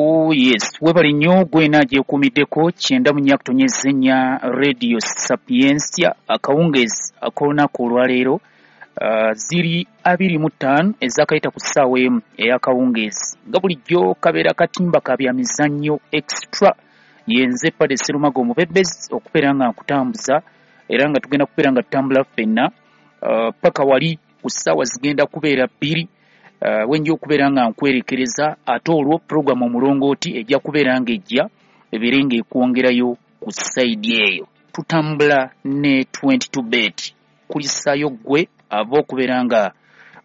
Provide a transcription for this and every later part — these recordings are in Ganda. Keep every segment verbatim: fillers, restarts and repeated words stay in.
Oh yes, webale nnyo gwena agyekuumiddeko kyenda mu nnya kutonyeza ennya Radio Sapientia. Akawungeezi ak'olunaku olwaleero uh, ziri abiri mu ttaano ezakayita ku ssaawa emu ey'akawungeezi. Nga bulijjo kabeera katimba ka bya mizannyo extra. Yenze Pade Serumaga omubebbezi okubeera nga nkutambuza, era nga tugenda kubeera nga tutambula ffenna uh, paka wali ku ssaawa zigenda kubeera bbiri Uh, wenja okubeera nga nkwerekereza, ate olwo puroguramu omulongooti ejja kubeera ng'ejja ebeere ng'ekwongerayo ku sayidi eyo. Tutambula ne twenty-two bet kulisaayo ggwe ava okubeera nga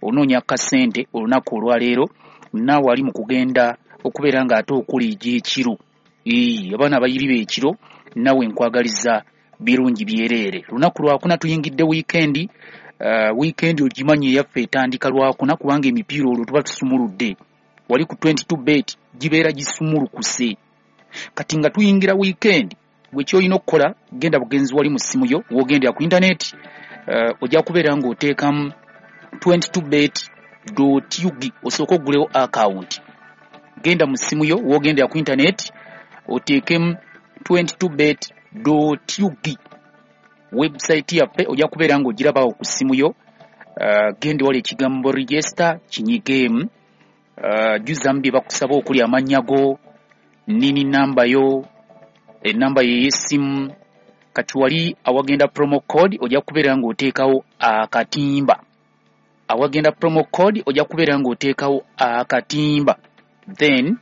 onoonya kasente olunaku olwaleero, naawe ali mu kugenda okubeera ng'ate okola egy'ekiro. Ee, abaana abayiriba ekiro naawe nkwagaliza birungi byereere. Lunaku lwakuna tuyingidde wiikendi. Uh, weekend ogimanyi eyaffe etandika lwakuna kubanga emipiira olwo tuba tusumuludde. Wali ku twenty-two bet gibeera gisumulukuse. Kati nga tuyingira weekend, gwe ky'olina okukola genda bugenzi wali mu ssimu yo w'ogendera ku internet, uh, ojja kubeera ng'oteekamu twenty-two bet dot U G osooke oggulewo account. Genda mu ssimu yo w'ogendera ku internet oteekemu twenty-two bet dot U G. Website yaffe ojja kubeera ng'ogirabawo ku ssimu yo. Uh, genda wali ekigambo register kinyigeemu, uh, jjuzamu bye bakusaba okuli amannya go, nini namba yo, enamba yo ey'essimu. Kati wali awagenda promo code ojja kubeera ng'oteekawo akatimba. Awagenda promo code ojja kubeera ng'oteekawo akatimba, then